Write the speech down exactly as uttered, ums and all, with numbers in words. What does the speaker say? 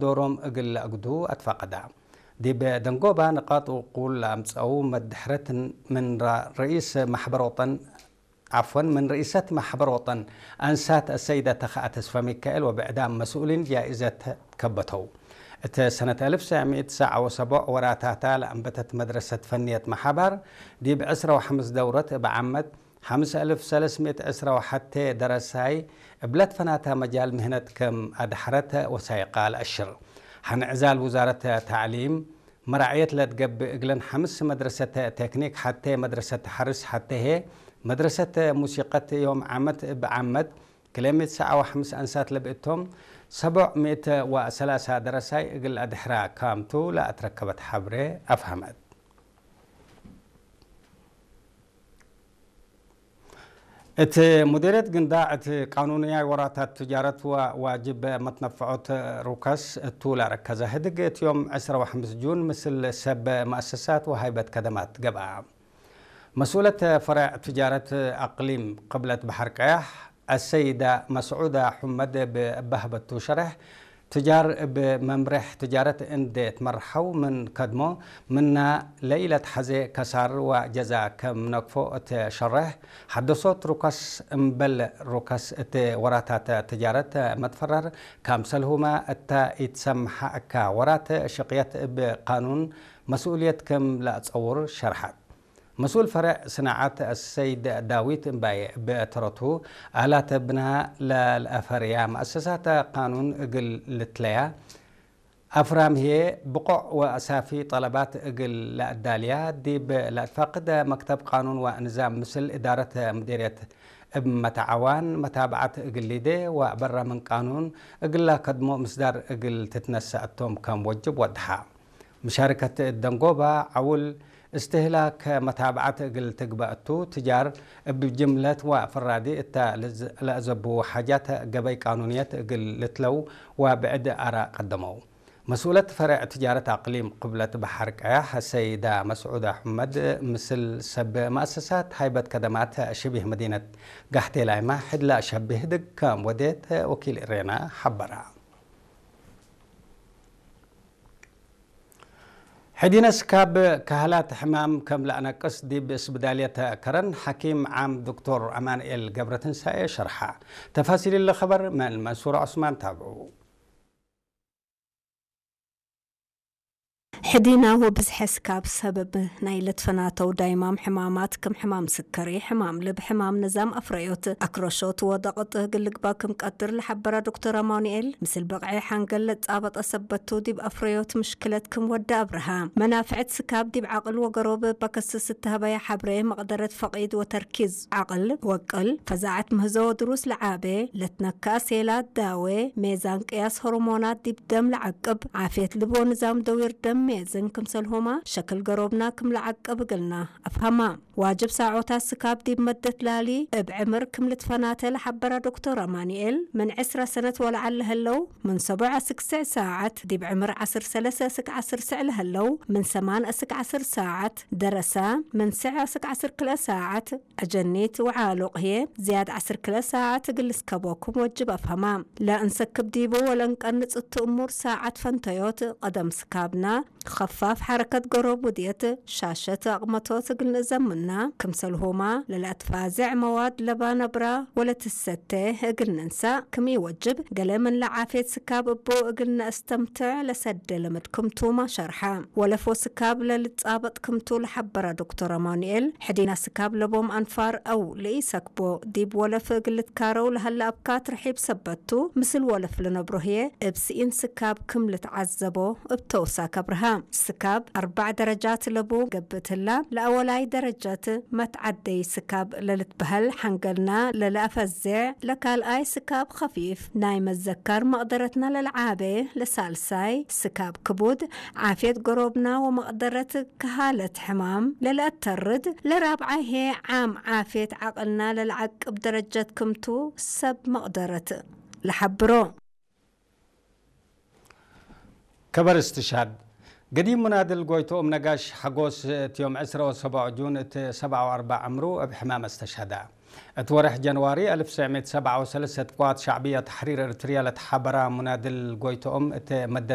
ዶሮም እግል ለአግዱ አትፋቀዳ። ዲብ ደንጎባ ንቃጥ ውቁል ለአምጸው መድሕረት ምን ራ-፣ ርኢስ ማሕበር ወጠን፣ ዓፍወን፣ ምን ርኢሰት ማሕበር ወጠን አንሳት አሰይደ ተኸአ ተስፈሚካኤል ወብዕዳም መስኡሊን ጃኢዘት ከበተው። እት ሰነት አልፍ ወትሰዕ ሚእት ወሰብዓ ወሰቡዕ ወራታታ ለአንበተት መድረሰት ፈንየት መሓባር፣ ዲብ ዕስራ ወሐምስ ደውረት እብ ዓመት ሐምስ አልፍ ወሰለስ ሚእት ዕስራ ወሐቴ ደረሳይ እብ ለትፈናታ መጃል ምህነት ክም አድሐረት ወሳይቃ ለአሽር። ሐን ዕዛል ውዛረት ተዕሊም መራዕየት ለትገብእ እግለን ሐምስ መድረሰት ቴክኒክ ሐቴ መድረሰት ሐርስ ሐቴ ህዬ መድረሰት ሙሲቀት ዮም ዓመት እብ ዓመት ክልኤ ሚእት ወሰብዓ ወሐምስ አንሳት ለብእቶም ሰቦዕ ሚእት ወሰላሳ ደረሳይ እግል አድሕራ ካምቱ ለአትረከበት ሐብሬ አፍሀመት። እት ሙዲርየት ግንዳዕ እት ቃኑንያይ ወራታት ትጃረት ወዋጅብ መትነፈዖት ሩከስ እቱ ለረከዘ ህድግ እት ዮም ዕስራ ወሐምስ ጁን ምስል ሰብ መአሰሳት ወሀይበት ከደማት ገብአ። መስኡለት ፈሬዕ ትጃረት አቅሊም ቅብለት በሐር ቀያሕ አሰይዳ መስዑዳ ሑመድ እብ በህበቱ ሸሬሕ፣ ትጃር እብ መምሬሕ ትጃረት እንዴ ትመርሐው ምን ከድሞ፣ ምና ለኢለትሐዜ ከሳር ወጀዛ ከም ነግፎ እት ሸሬሕ፣ ሐደሶት ሩከስ እምበል ሩከስ እት ወራታት ትጃረት መትፈረር፣ ካምሰልሁመ እተ ኢትሰምሐ እካ ወራት ሽቅየት እብ ቃኑን መስኡልየት ክም ለአጸውር ሸርሐት። መስኡል ፈሬዕ ስናዐት አሰይድ ዳዊት እምባዬ እብ ተረቱ፣ አላት ብና ለልአፈርያ መአሰሳት ቃኑን እግል ልትለያ፣ አፍራም ህዬ ብቆዕ ወአሳፊ ጠለባት እግል ለአዳልያ፣ ዲብ ለአትፋቅደ መክተብ ቃኑን ወንዛም ምስል እዳረት ሙዲርየት እብ መተዓዋን መታብዐት እግል ሊዴ ወበረ ምን ቃኑን እግል ለከድሞ ምስዳር እግል ትትነሰአቶም ከም ወጅብ ወድሐ። መሻርከት ደንጎባ ዐውል እስትህላክ መታብዐት እግል ትግበእ እቱ፣ ትጃር እብ ጅምለት ወፍራዲ እተ ለዝ-፣ ለአዘቡ ሓጃት ገበይ ቃኑንየት እግል ልትለው ወብዕድ አራእ ቀደመው። መስኡለት ፈሬዕ ትጃረት አቅሊም ቅብለት በሐር ቀያሕ ሰይዳ መስዑዳ ሑመድ፣ ምስል ሰብ መአሰሳት ሃይበት ከደማት ሽቢህ መዲነት ጋሕቴ ላይማ ሕድ ለአሸብህ ህድግ ከም ወዴት ወኪል እሬና ሐበራ። ሕዲነ ስካብ ካህላት ሕማም ከም ለአነቅስ ዲብ ስብዳልየት ከረን ሐኪም ዓም ዶክቶር አማንኤል ገብረትንሳኤ ሸርሐ። ተፋሲል እሊ ኸበር ምን መንሱር ዑስማን ታብዑ። ሕዲነ ወብዝሐ ስካብ ሰበብ ናይ ለትፈናተው ዳይማም ሕማማት ክም ሕማም ስከሪ፣ ሕማም ልብ፣ ሕማም ንዛም አፍረዮት፣ አክረሾት ወደቅጥ እግል ልግባእ ክም ቀድር ለሐበረ ዶክተር አማኑኤል፣ ምስል ብቅዒ ሐንገል ለትጻበጠ ሰበቱ ዲብ አፍረዮት ምሽክለት ክም ወደ አብርሃ። መናፍዕት ስካብ ዲብ ዐቅል ወገሮብ እበ ከስስ እተሀበየ ሐብሬ መቅደረት ፈቂድ ወተርኪዝ ዐቅል ወቅል፣ ፈዛዐት ምህዞ ወድሩስ ለዓቤ፣ ለትነከአ ሴላት ዳዌ፣ ሜዛን ቅያስ ሆርሞናት ዲብ ደም ለዐቅብ፣ ዓፍየት ልብ ወንዛም ደዊር ደም ሜዝን ክምሰልሁመ ሸክል ገሮብና ክም ለዐቅብ እግልና አፍሀማ። ዋጅብ ሳዖታት ስካብ ዲብ መደት ላሊ እብ ዕምር ክም ልትፈናተ ለሐበረ ዶክቶር አማኑኤል፣ ምን ዕስረ ሰነት ወለዐል ለህለው ምን ሰቦዕ አስክ ስዕ ሳዐት፣ ዲብ ዕምር ዐስር ሰለሰ እስክ ዐስር ስዕ ለህለው ምን ሰማን እስክ ዐስር ሳዐት፣ ደረሳ ምን ስዕ እስክ ዐስር ክልኤ ሳዐት፣ አጀኒት ወዓሉቅ ህዬ ዝያድ ዐስር ክልኤ ሳዐት እግል ልስከቦ ክም ወጅብ አፍሀማ። ለእንሰክብ ዲቡ ወለእንቀንጽ እቱ እሙር ሳዐት ፈንተዮት፣ ቀደም ስካብና፣ ከፋፍ ሐረከት ገሮብ ውድየት፣ ሻሸት አቅመቶት እግል ንእዘምና፣ ክምሰልሁማ ለለአትፋዜዕ መዋድ ለባ ነብራ ወለትሰቴ እግል ንንሳእ ክም ኢወጅብ፣ ገሌ ምን ለዓፍየት ስካብ እቡ እግል ነአስተምትዕ ለሰዴ ልምድ ክምቱመ ሸርሐ። ወለፍ ወስካብ ለልጻበጥ ክምቱ ለሐበረ ዶክቶር አማኑኤል፣ ሕዲና ስካብ ለቦም አንፋር አው ለኢሰክቦ ዲብ ወለፍ እግል ልትካረው ለሀለ አብካት ርሒብ ሰበት ቱ፣ ምስል ወለፍ ለነብሮ ህዬ እብ ስኢን ስካብ ክም ልትዓዘቦ እብ ተውሳክ አብርሃ። ስካብ አርበዕ ደረጃት ለቡ ገብእ ትላ፣ ለአወላይ ደረጃት መትዓደይ ስካብ ለልትበሀል ሐንገልና ለለአፈዜዕ፣ ለካልኣይ ስካብ ከፊፍ ናይ መዘካር መቅደረትና ለለዓቤ፣ ለሳልሳይ ስካብ ክቡድ ዓፍየት ገሮብና ወመቅደረት ከሃለት ሕማም ለለአተርድ፣ ለራብዓይ ህዬ ዓም ዓፍየት ዐቅልና ለለዐቅብ ደረጀት ክምቱ ሰብ መቅደረት ለሐብሮ። ከበር እስትሻድ። ገዲም ሙናድል ጎይቶኦም ነጋሽ ሐጎስ እት ዮም ዕስረ ወሰብዑ ጁን እት ሰብዓ ወአርበዕ ዕምሩ እብ ሕማም አስተሸሀደ። እት ወርሕ ጀንዋሪ አልፍ ወትሰዕ ምእት ወሰብዓ ወሰለሰ እት ቅዋት ሸዕብየ ተሕሪር እርትርየ ለተሓበራ ሙናድል ጎይቶኦም እት መደት